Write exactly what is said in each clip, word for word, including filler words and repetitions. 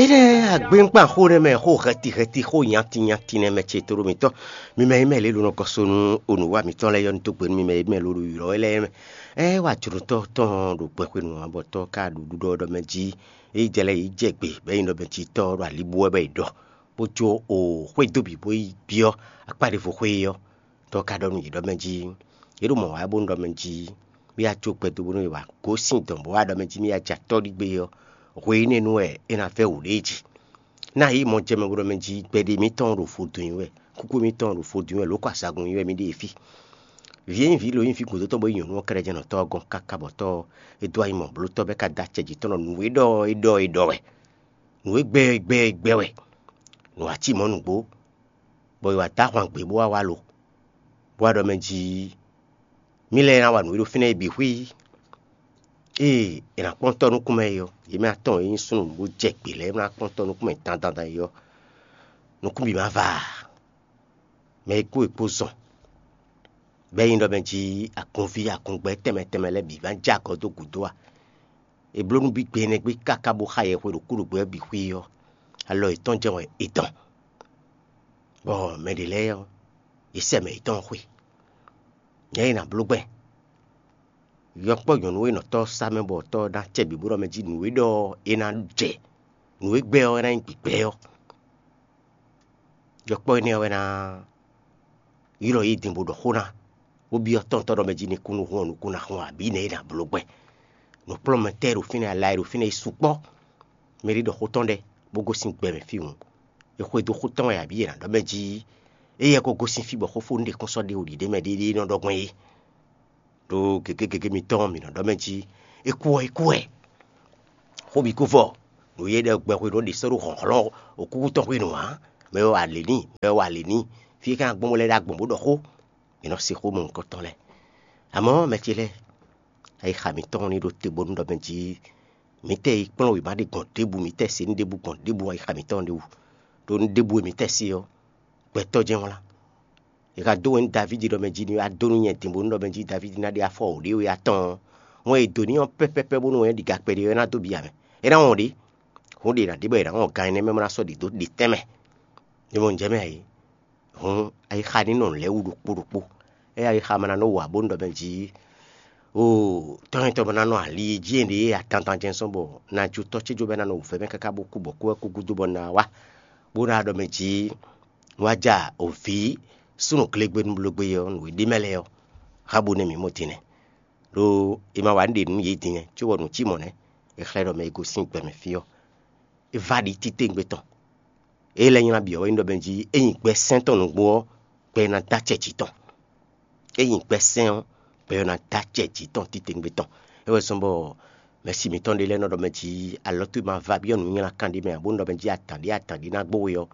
Énɛ́ agbénkpan xó nɛ́ mɛ, xó hɛti hɛti, xó nyanti nyanti nɛ́ mɛ ce tóɖó mitɔn. Mi mɛ e mɛ lě ɖo nɔ gɔ́ so nú onǔwa mǐtɔn lɛ́ɛ yɔ́ ní dó gbe nú mi mɛ e mɛ ló ɖo ylɔ̌ wɛ lɛ́ɛ mɛ. Ɛ wa jlǒtɔ́ tɔn ɖo gbɛxwenu ǎ, bɔ tɔ́ ka ɖo ɖuɖɔ ɖɔ mɛ jí. É jɛ lɛ́ɛ yě jɛ gbe bɔ é nyí ɖɔ mɛ jí tɔ́ ɖo alibú wɛ bɔ è ɖɔ, bó jó o xwé dó bǐ bó yi byɔ́ akpá ɖěvo xwé é ɔ́. Tɔ́ ka ɖɔ nú yě ɖɔ mɛ jí, yě ɖo mɔ̌ wa wɛ bónú ɖɔ mɛ jí, mì ya jó gbɛdó bónú è wǎ gosín dɔ̌n bó wá ɖɔ mɛ jí mì ya jɛ atɔ́ ɖi gbé ɔ́, hwe énɛ́ nu wɛ é ná vɛ́ wǔ ɖé jí. Ná yě mɔ jɛ mɛ bó ɖɔ mɛ jí gbɛɖe mǐtɔn ɖo vodún nyi wɛ, kúkú mǐtɔn ɖo vodún nyi wɛ, lǒ kɔ azagun nyi wɛ mì ɖe fí. Vǐ e nyí vǐ lo nyí vǐ gǔdo tɔn bó nyí nyɔ̌nu ɔ́ kɛ́ɖɛ́ jɛ́n nɔ tɔ́ ɔ́ gɔ́n káká bɔ tɔ́ ɔ́, é dó ayi mɔ blótɔ́ bɔ é ka dó acɛ jǐ tɔn ɖɔ nǔ e ɖɔ ɔ́, é ɖɔ é ɖɔ wɛ. Nǔ e gbɛ ɔ́, é gbɛ ɔ́, é gbɛ wɛ. Nǔ wá cí mɔ̌ nǔgbó, bɔ è wǎ dó ahwan gbe bó wá wá lo, bó wá ɖɔ mɛ jí, mì lɛ́ɛ ná wa nǔ e ɖo fínɛ́ é bǐ xwí. Ée è nǎ kpɔ́n tɔ́ nukún mɛ é ɔ́, yě mɛ atɔn e nyí súnnu bó jɛ gbě lɛ́ɛ ná kpɔ́n tɔ́ nukún mɛ dandan é ɔ́, nukún bǐ ma va ǎ. Mɛ e kú è kpó zɔn, bɔ é nyí ɖɔ mɛ jí agunví agungbɛ́ tɛnmɛ tɛnmɛ lɛ́ɛ bǐ ma jɛ agɔ dó gǔdo ǎ. È bló nú bí gbe énɛ́ gbé káká bó xa yɛhwe ɖo kúɖugbɛ́ ɔ́ bǐ xwí ɔ́, alɔ yětɔn jɛ́n wɛ è dɔn, bɔ mɛ ɖě lɛ́ɛ ɔ́, yě sɛ mɛ yětɔn xwe. Nyɛ e nǎ bló gbɛn, yɔkpɔ́ nyɔ̌nu e nɔ tɔ́ sá mɛ bɔ tɔ́ ná cɛ bǐ bó ɖɔ mɛ jí nǔ e ɖɔ é ná jɛ, nǔ e gbɛ ɔ́ é ná nyí gbǐgbɛ́ ɔ́. Yɔkpɔ́ énɛ́ ɔ́ wɛ ná ylɔ́ yě din bó ɖɔ xó ná, bó byɔ́ tɔ́ntɔ́ ɖɔ mɛ jí ní kú nú hɔn nukún ná hɔn abǐ nɛ̌ é ná bló gbɛn. Nǔkplɔ́nmɛtɛ́ e ɖo fínɛ́, ala e ɖo fínɛ́ é sukpɔ́. Mɛ ɖé ɖɔ xó tɔn ɖɛ, bó gosín gbɛ mɛ fí hǔn, è xwedó xó tɔn wɛ abǐ è nǎ ɖɔ mɛ jí éyɛ́ ko gosín fí bɔ xófónu ɖě kún sɔ́ ɖe wǔ ɖiɖe mɛ ɖéɖé nɔ ɖɔ gbɔn é. Ɖo gěgé gěgé mitɔn mǐ nɔ ɖɔ mɛ jí, é kú ɔ́, é kú wɛ. Xó bǐ kú vɔ, nǔ e ɖɔ gbɛxwenu ɖě sɔ́ ɖo hlɔ̌nhlɔ́n okúkú tɔn hwenu ǎ. Mɛ e wa lě n'i, mɛ e wa lě n'i, fí e é ka ná gbɔn bó lɛ́ ɖó agbɔ̌n bó ɖɔ xó. Mǐ nɔ se xó mɔ̌hunkɔtɔn lɛ́ɛ. Amɔ̌, mɛ ce lɛ́ɛ, ayixa mǐtɔn ní ɖo te bónú ɖɔ mɛ jí mǐtɛ́ yi kplɔ́n wěma ɖé gbɔn ɖěbǔ, mǐtɛ́ se nú ɖěbǔ gbɔn ɖěbǔ ayixa mǐtɔn ɖé wú. Ɖó nú ɖěbǔ e mǐtɛ́ se ɔ́, gbɛtɔ́ jɛ́n wlán. È ka dó wɛ nú Davídi ɖɔ mɛ jí ní wá dó nú nyɛ din bónú ɖɔ mɛ jí Davídi ná ɖe afɔ wǒ ɖé wɛ atɔn ɔ́, wɛn e è dǒ n'i ɔ́ pɛ́pɛ́pɛ́ bónú wɛn ɔ́ ɖi ga kpɛɖé ɔ́, é ná dó bǐ ǎ mɛ. É ná wɔn ɖě. Hǔn ɖě è nǎ ɖe bɔ è nǎ wɔn gan énɛ́ mɛ bó ná sɔ́ ɖě dó ɖě tɛ́nmɛ. Mi mɔ nǔ jɛ mɛ a ě? Hǔn ayixa ní nɔ nǔ lɛ́ɛ wú ɖokpó ɖokpó. Ée ayixa ma ná nɔ wa bónú ɖɔ mɛ jí, oo, tɔ́nyɛtɔ́ bɔ ná nɔ ali e jí è ɖe adandan jɛ́n sɔ́ bɔ ná jó tɔ́ ce jó bɔ é ná nɔ wǔvɛ́ mɛ káká bó kú bɔ kú wɛ kú gúdo bɔ ná wá, bó ná ɖɔ mɛ jí wá ja òvǐ súnnu glégbé nú blógbé ɔ́, nǔ e ɖ'é mɛ lɛ́ɛ ɔ́, xá bó nɛ́ mǐ mɔ din nɛ́. Ɖó è ma wa nǔ ɖe nú yě din nɛ́, cóbɔ nǔ cí mɔ̌ nɛ́, è xlɛ́ ɖɔ mɛ e gosín gbɛ mɛ fí ɔ́, é vá ɖi títewungbe tɔn. É lɛ́ nylá byɔ̌ wɛ nyí ɖɔ mɛ jí é nyi gbɛ sɛ́n tɔn nǔgbó ɔ́, gbɛ ná dó acɛ jǐ tɔn. É nyi gbɛ sɛ́n ɔ́, gbɛ ɔ́ ná dó acɛ jǐ tɔn títewungbe tɔn. É wɛ zɔ́n bɔ mɛ̌si mǐtɔn ɖé lɛ́ɛ nɔ ɖɔ mɛ jí alɔ towe ma va byɔ́ nǔnywlákan ɖé mɛ ǎ, bónú ɖɔ mɛ jí adǎn ɖé adǎn ɖé ná gbó we ɔ́,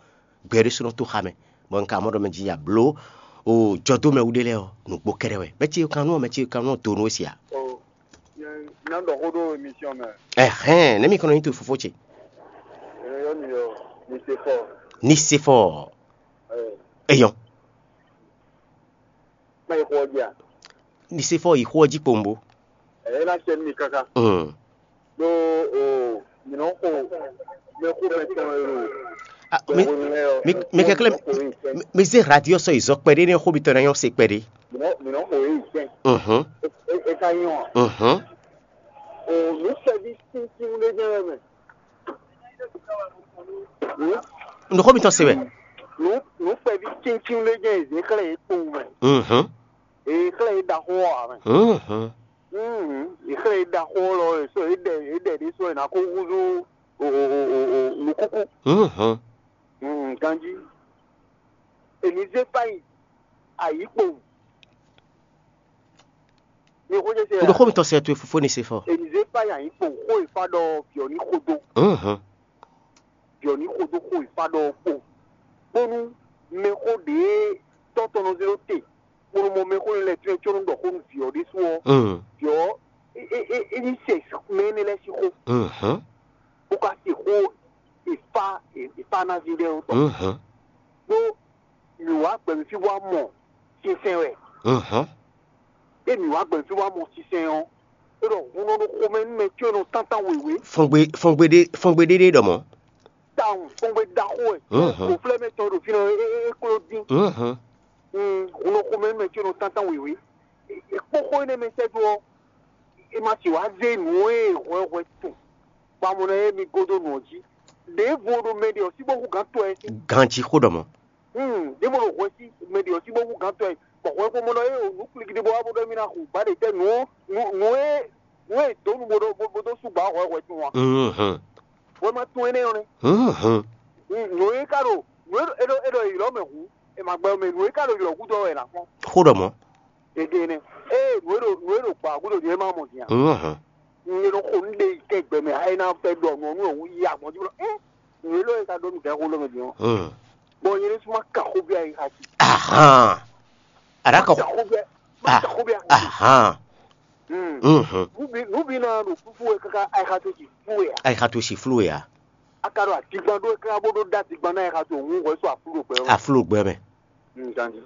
gbɛ ɖésú nɔ tó xa mɛ, bɔ un ka mɔ ɖɔ mɛ jí ya bló o jɔdómɛwú ɖé lɛ́ɛ ɔ́, nǔgbó kɛ́ɖɛ́ wɛ. Mɛ ce kan nú ɔ́, mɛ ce kan nú ɔ́ do nú we se ǎ. Ná ɖɔ xó ɖó émission mɛ. Ɛhɛn, nɛ̌ mi kɔn nɔ nyí to fofó ce? Yɔ mi yɔ, mi se fɔ. Ni se fɔ. Eyɔn. Má yi xɔ ɔ́ jí a? Ni se fɔ yi xɔ ɔ́ jí kpowun bó. Ɛ é ná sɛ nú mi káká. Mm. Ɖó o mi nɔ xo mɛ xo mɛ tɔn e o. Ah, mi mi mi kɛklɛ mi, mi zé radio sɔ yi zɔ kpɛɖé ne xó mi tɔn na nyɔ se kpɛɖé. Mi nɔ mi nɔ xo e yi sɛn. Mhm. E e ka nyɔ. Mhm. O nu sɛbi tíntín ɖé jɛ mɛ. Nǔ xó mitɔn se wɛ. Nu nu kpɛvi tíntín ɖé jɛ zě xlɛ́ yě kpowun mɛ. Mhm. Èyí xlɛ́ yě ɖaxó ɔ́ ǎ mɛ. Mhm. Mhm. Yě xlɛ́ yě ɖaxó ɔ́ lɔ è sɔ́ yě ɖɛ yě ɖɛ ɖé sɔ́ è nǎ kó húzú o o o o o nǔkúkú. Mhm. Mhm. Ganjí. Èmi zé fáyì ayǐ kpowun. Mi xó jɛ se N ɖo xó mitɔn sɛ towe fofó ni se fɔ. Èmi zé fáyì ayǐ kpowun xó e fa ɖɔ vǐ ɔ́ ní xo dó. Mhm. Vǐ ɔ́ ní xo dó xó e fa ɖɔ ɔ́ kpo. Bónú mɛxó ɖě tɔ́ tɔn nɔ zé ɖó te, bó nɔ mɔ mɛxó lɛ́ɛ tɔ́n cónɔ ɖɔ xó nú vǐ ɔ́ ɖésú ɔ́, Mm. vǐ ɔ́ é é é é ní se mɛ énɛ́ lɛ́ɛ sín xó, Mhm. bó ka se xó e fa e e fa ná ví ɖɛ́ ɔ́ tɔn. Mhm. Ɖó mǐ wá gbɛ mì fí wá mɔ sinsɛn wɛ. Mhm. Ée mǐ wá gbɛ mì fí wá mɔ sinsɛn ɔ́, é ɖɔ hun nɔ ɖo xomɛ nú mɛ có e nɔ tántán wěwé. Fɔngbe fɔngbe ɖé fɔngbe ɖé ɖé ɖɔ mɔ̌. wɛ. Koflɛ́ mɛ tɔn ɖo fínɛ́ é kló dín. Hun nɔ xomɛ mɛ có nɔ tántán wěwé. Kpóxó énɛ́ mɛ sɛ́ dó ɔ́, é ma sixú wá zé nǔ e hwɛhwɛ tun bɔ a mɔ ná yɛ mi gɔ́ dó nǔ ɔ́ jí. Ɖěvo ɖo mɛ ɖě ɔ́ sí bó hú gǎn tɔn ɛ sín. Ganjí xó ɖɔ mɔ̌. Hmm, ɖěvo ɖo hwɛ sí mɛ ɖě ɔ́ sí bó hú gǎn tɔn ɛ, bɔ hwɛ xó mɔ ɖɔ é o nǔ klikidi bó wá bó ɖɔ mì ná hu ba ɖe tɛ́ nǔ nǔ nǔ e nǔ e dǒ nu bó ɖó bó dó sú gbǎ hwɛhwɛ tun ɔ́. Hwɛ ma tún énɛ́ ɔ́ nɛ́. Nǔ e ka ɖo nǔ e ɖo e ɖo ylɔ̌ mɛ hǔn, è ma gbɛ mɛ nǔ e ka ɖo ylɔ̌ gúdo ɔ́ wɛ è nǎ kpɔ́n. Xó ɖɔ mɔ̌. Gěgé nɛ́. Ée nǔ e ɖo nǔ e ɖo gbǎ gúdo din é ma mɔ din ǎ. Un e nɔ xo nú ɖe yi kɛ gbɛ mɛ, é ná fɛ ɖɔ nǔ ɔ́ nú ɔ́ yi agbɔ̌n jí blɔ. Nǔ e lɔ e ka ɖɔ nú gǎn xó lɔ mɛ din ɔ́. Bɔ nyɛ ɖésú ma ka xó bí ayi xa jí. Ahan. Aɖaka. Ka xó bí ayi. Ma ka xó bí ayi xa jí. Ahan. Nǔ bí nǔ bí ná ɖo fúfú wɛ káká ayi xa tó jí fú wɛ a. Ayi xa tó jí fú wɛ a. A ka ɖo adigban ɖó káká bó ɖó ɖó adigban ná ayi xa tó òun hwɛ sɔ afúló gbɛ ɔ́. Afúló gbɛ mɛ. Nzanzi.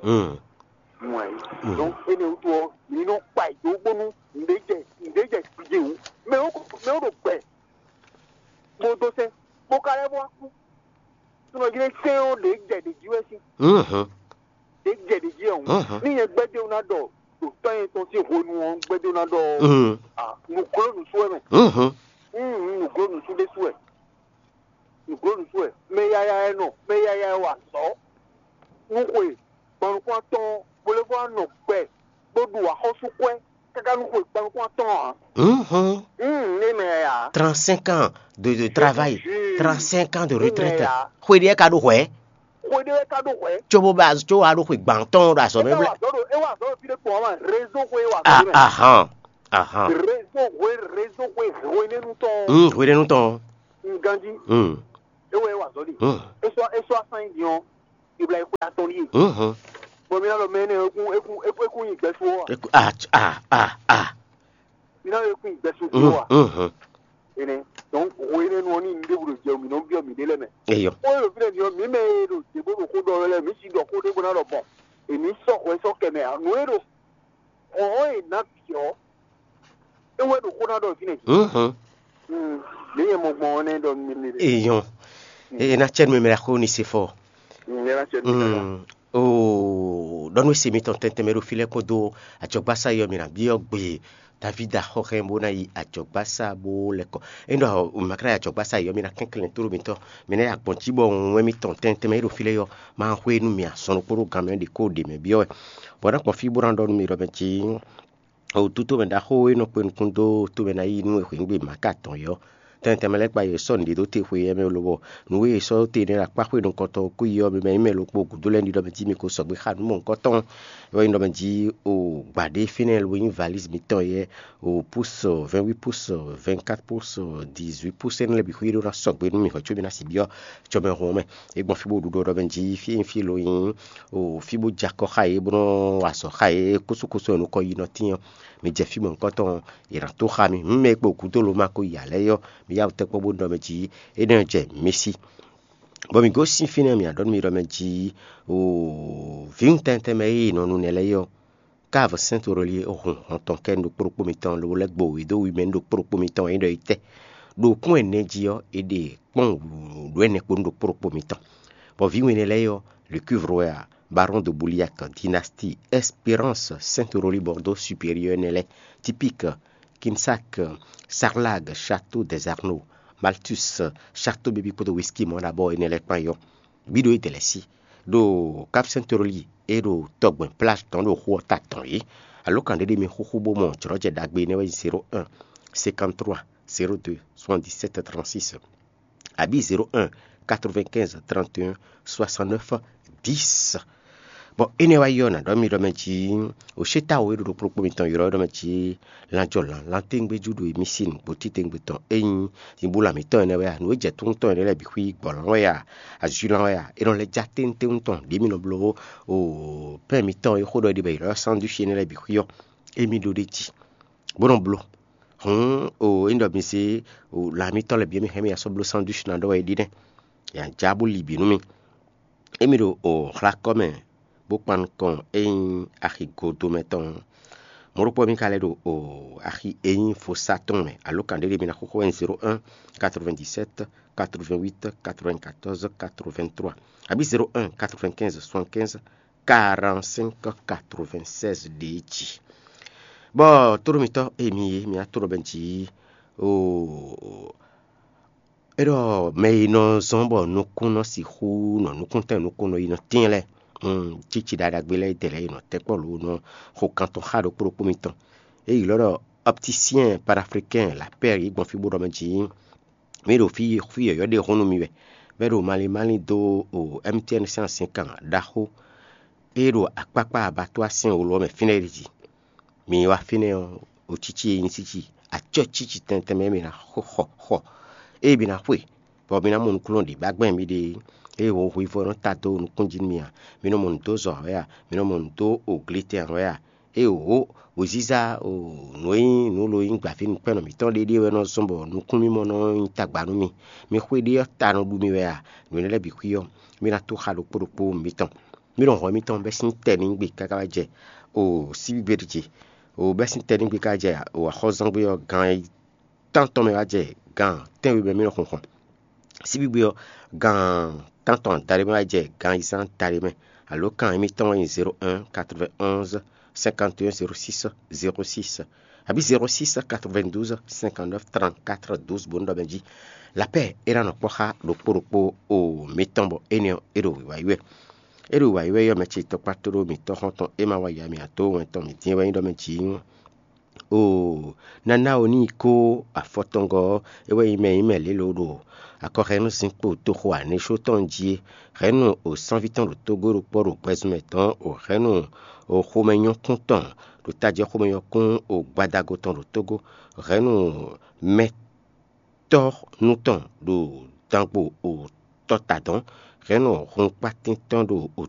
Mɔ ɛ. Donc énɛ́ wútu ɔ́, mi nɔ kpa yi dó bónú nǔɖé jɛ nǔɖé jɛ gbídé wú. Mɛ wo mɛ wo ɖo gbɛ. Bó dó sɛn bó ka lɛ́ bó wá kú. Sunɔ jí ɖé sɛn ɔ́ ɖě jɛ ɖě jí wɛ sín. Ɖě jɛ ɖě jí ɔ́. Ní nyɛ gbɛdéwú ná ɖɔ ɖo tɔ́ nyɛ tɔn sín hwenu ɔ́ gbɛdéwú ná ɖɔ nǔgló nǔsú wɛ mɛ. Nǔgló nǔsú ɖésú wɛ. Nǔgló nǔsú wɛ. Mɛ yaya ɛ nɔ mɛ yaya ɛ wa azɔ̌. Nú xwe gbɔnukún atɔn bó lɛ́ vɔ wá nɔ gbɛ bó ɖu axɔ́súkwɛ́ káká nú xwe gbɔnukún atɔn ǎ. Ní mɛ yaya. Trente-cinq ans de, de travail, trente-cinq ans de retraite. Xwe ɖé ka ɖo hwɛ̌. Xwe ɖé wɛ ka ɖo hwɛ̌. Cóbó ba có wá ɖo xwe gbǎn tɔn ɖo azɔ̌ mɛ. É wá azɔ̌ ɖo é wá azɔ̌ ɖo fí ɖé kpɔn wá ma rézó xwe é wá azɔ̌ ɖo mɛ. Ahan. Ahan. Rézó xwe rézó xwe hwenɛ́nu tɔn. Hwenɛ́nu tɔn. Nganjí. É wɛ é wá azɔ̌ ɖi. É sɔ́ é sɔ́ asán yi din ɔ́. Iblahim xwe atɔn ɖíe. Bɔ mi ná ɖɔ mɛ énɛ́ ekún ekún ekún ekún nyi gbɛsú ɔ́ a? Ekún ah ah ah ah. Mi ná ɖɔ ekún nyi gbɛsú ɔ́ a? Énɛ́ donc hwe énɛ́ nu ɔ́ ní nǔɖé ɖo jɛ mǐ nɔ byɔ́ mǐɖée lɛ́ɛ mɛ. Eyɔ. Ó ɖo fínɛ́ din ɔ́, mǐ mɛ e ɖo dě bó ɖo xó ɖɔ wɛ lɛ́ɛ mǐ si ɖɔ xó ɖé bó ná ɖɔ bɔn. Èmí sɔ́ hwɛ sɔ́ kɛ mɛ ǎ. Nǔ e ɖo xɔ̌n e ná bǐ ɔ́, é wɛ ɖo xó ná ɖɔ fínɛ́. Lě nyɛ mɔ gbɔn ɔ́ nɛ́ ɖɔ nú mi ɖe. Eyɔn. Eye na cɛ nu mɛ xo ni se fɔ. Nyɛ na cɛ nu mɛ. Oo ɖɔ nú ese mitɔn tɛntɛn mɛ ɖo fí lɛ́ɛ kpódó ajɔgbásá yɔ mi na byɔ́ gbe davida xɔxɛ bó ná yi ajɔgbásá bó lɛ́ kɔ. É ɖɔ makra yi ajɔgbásá yɔ mi na kɛnklɛn tóɖó mitɔn mi ná yi agbɔn jí bɔ wɛn mitɔn tɛntɛn mɛ e ɖo fí lɛ́ɛ yɔ ma xwé nú mi azɔn ɖokpó ɖó gan mɛ ɖě kó ɖě mɛ byɔ́ wɛ. Bɔ ná kpɔn fí bó ná ɖɔ nú mi ɖɔ mɛ jí o tutomɛ ɖaxó e nɔ kpe nukún dó tomɛ ná yí nú e hwǐngbe mǎ ka tɔn é ɔ́, tɛntɛn mɛ lɛ́ɛ kpa yě sɔ́ nǔɖé dó te xwe éyɛ́ mɛ lobɔ nǔ e è sɔ́ dó te énɛ́ ɖo akpá xwe nukɔntɔn kú yi ɔ́, mi mɛ nyí mɛ ɖokpó gǔdo lɛ́ɛ ní ɖɔ mɛ jí mi ko sɔgbe xá nǔ mɔ̌hunkɔtɔn. É wɛ nyí ɖɔ mɛ jí o gbǎ ɖé fínɛ́ lobo nyí valízi mitɔn yɛ́ o pús vɛ́nwí pús vɛ́nkát pús dizwí pús énɛ́ lɛ́ɛ bǐ xwí ɖó ná sɔgbe nú mi hwɛ̌ có mi ná sixú byɔ́ cɔmɛhun ɔ́ mɛ. É gbɔn fí bó ɖu ɖɔ ɖɔ mɛ jí fí e nyí fí lo nyí o fí bó jɛ akɔ xá yě bó nɔ́ wa azɔ̌ xá yě kósókósó e nukɔn yi nɔ tín ɔ́, mi jɛ fí mɔ̌hunkɔtɔn yě ná tó xá mi. Hǔn mɛ e kpo gǔdo lo ma ko yi alɛ̌ é ɔ́, mi yá wǔ tɛ́nkpɔ́n bó ɖɔ mɛ jí énɛ́ ɔ́ jɛ mǐ sí. Bɔ mǐ gosín fínɛ́ mǐ ná ɖɔ nú mi ɖɔ mɛ jí o vǐwun tɛntɛn mɛ e è nɔ nu nɛ́ lɛ́ɛ é ɔ́, kávu sɛ́n toroli hun hɔn tɔn kɛ nú ɖokpó ɖokpó mitɔn lobo lɛ́ gbo wě dó wi mɛ nú ɖokpó ɖokpó mitɔn e nyí ɖɔ é tɛ́. Ɖo kún ɛnɛ jí ɔ́, è ɖe kpɔ́n wǔɖú ɛnɛ kpó nú ɖokpó ɖokpó mitɔn. Bɔ vǐ wɛnɛ lɛ́ɛ ɔ́, Lucuvrewɛa, Baron de Bouliac, Dynastie, Espérance, Sainte Aurélie, Bordeaux Supérieur énɛ́ lɛ́ɛ, Typique, Quinsac, Sarlag, Château des Arnaud, Malthus, Château Baby kpódó whisky mɔ̌ ɖo abɔ énɛ́ lɛ́ɛ kpán yɔ. Bǐ ɖo é dɛ lɛ́ɛ sí. Ɖo Cap Sainte Aurélie é ɖo tɔgbɛn plage tɔn ɖo xu ɔ́ ta tɔn é. Alǒkan ɖé ɖé mi xúxú bó mɔ jlɔ̌jɛ ɖagbe énɛ́ wɛ nyí zéro un, cinquante trois, zéro deux, soixante dix sept, trente six. Abǐ zéro un, quatre vingt quinze, trente et un, soixante neuf, dix. Bɔ énɛ́ wá yi ɔ́, nǎ ɖɔ mì ɖɔ mɛ jí o sétáwo e ɖo ɖokpó ɖokpó mitɔn ylɔ́ ɖɔ mɛ jí lanjɔlan lantéŋgbéjú ɖo émí sín nǔgbó títewungbe tɔn é nyí nyibúla mǐtɔn énɛ́ wɛ a? Nǔ e jɛ tún tɔn énɛ́ lɛ́ɛ bǐ xwí gbɔ̌ lan wɛ a? Azwi lan wɛ a? È nɔ lɛ́ já téńtéún tɔn ɖě mì nɔ bló o pɛ́n mǐtɔn e xó ɖɔ è ɖe bɔ è ylɔ́ sandwich énɛ́ lɛ́ɛ bǐ xwí ɔ́, émí ɖó ɖ'é jí bó nɔ bló. Hǔn o é nyí ɖɔ mi zé o lan mǐtɔn lɛ́ɛ bǐ émí hɛn mì yi asɔ́ bló sandwich ná ɖɔ wɛ é ɖi nɛ́. È nǎ já bó li bǐ nú mì. Émí ɖo o xlakɔ́ mɛ bó kpan nukɔn é nyí axi godo mɛ tɔn ɔ́, Mɔ̌ ɖokpó mi ka lɛ́ ɖo o axi e nyí vodún tɔn mɛ, alǒkan ɖé ɖé mi ná xóxó wɛ nyí zéro un quatre-vingt-dix-sept quatre-vingt-huit quatre-vingt-quatorze quatre-vingt-trois, abǐ zéro un quatre-vingt-quinze soixante-quinze quarante-cinq quatre-vingt-seize ɖě jí. Bɔ tóɖó mitɔ́ e mi é mi ná tóɖó bɛ́ jí o é ɖɔ mɛ e nɔ zɔ́n bɔ nukún nɔ sixú nɔ nukúntɛn nukún nɔ yi nɔ tɛ́n lɛ́ɛ, cíci ɖaɖagbe lɛ́ɛ dɛ lɛ́ɛ yi nɔ tɛ́kpɔ́ lǒ nɔ xo kan tɔn xá ɖokpó ɖokpó mitɔn. É yi lɔ́ ɖɔ opticien panafricain lapɛ́r yi gbɔn fí bó ɖɔ mɛ jǐ mǐ ɖo fí fí yɔ̌yɔ́ ɖé hun nú mi wɛ, bɔ é ɖo malín malín dó o M T N sín azǐnkan ɖaxó e ɖo akpákpá abattoir Saint-Olo ɔ́ mɛ fínɛ́ é ɖi jí. Mi wá fínɛ́ ɔ́, o cící e nyí cící acɔ́ cící tɛntɛn mɛ mi ná xɔ xɔ ée mi ná xwe, bɔ mi ná mɔ nukúnnú ɖě ba gbɛn miɖée. Ée hwihwivɔ́ nɔ ta dó nukún jí nú mi a? Mi nɔ mɔ nǔ dó zɔ ǎ wɛ a? Mi nɔ mɔ nǔ dó oglitɛn ǎ wɛ a? Ée wǒ, wěziza nǔ e nyí nǔ lo nyí gbǎví nukpɛ́nnɔ mǐtɔn ɖéɖée wɛ nɔ zɔ́n bɔ nukúnmimɔ nɔ nyí tagba nú mi. Mi xwé ɖé ɔ́ ta nɔ ɖu mi wɛ a? Nǔ énɛ́ lɛ́ɛ bǐ xwí ɔ́, mi ná tó xa ɖokpó ɖokpó mitɔn. Mi nɔ hɔn mitɔn bɛ́ sín tɛ́ ní gbe káká wá jɛ o síbígbe ɖi ce. O bɛ́ sín tɛ́ ní gbe ká jɛ o axɔ́zɔ́ngbe ɔ́ gan tántɔn mɛ wá jɛ gan tɛ́nwe mɛ mi nɔ xunxɔn. Síbígbe ɔ́, gan tántɔn adaɖé mɛ wá jɛ gan ayizán adaɖé mɛ. Alǒkan émítɔn wɛ nyí zéro un quatre-vingt-onze cinquante et un zéro six zéro six, abǐ zéro six quatre-vingt-douze cinquante-neuf trente-quatre douze bó nú ɖɔ mɛ jí. Lapɛ́ é ná nɔ kpɔ́ xá ɖokpó ɖokpó o mitɔn bɔ énɛ́ ɔ́ é ɖo wǐwá yi wɛ. É ɖo wǐwá yi wɛ yɔ́ mɛ ce tɔkpá tóɖó mǐtɔn xɔ́ntɔn é ma wa ya mì ǎ dó wɛn tɔn mǐ dín é wɛ nyí ɖɔ mɛ jǐ. Oo, nana o ní yi kó afɔtɔngɔ́ ɔ́, é wɛ nyí mɛ e nyí mɛ lě lǒ ɖo akɔxɛnúzinkpo toxo Anisó tɔn jí é. Hɛ̌nnu o sánví tɔn ɖo tógó ɖokpɔ́ ɖo gbɛzunmɛ tɔn o hɛ̌nnu o xomɛnyɔ́kún tɔn ɖo tajɛ xomɛnyɔ́kún o gbadago tɔn ɖo tógó, hɛ̌nnu mɛ tɔ́ nú tɔn ɖo dangbo o tɔta dɔn, hɛ̌nnu hunkpátín tɔn ɖo o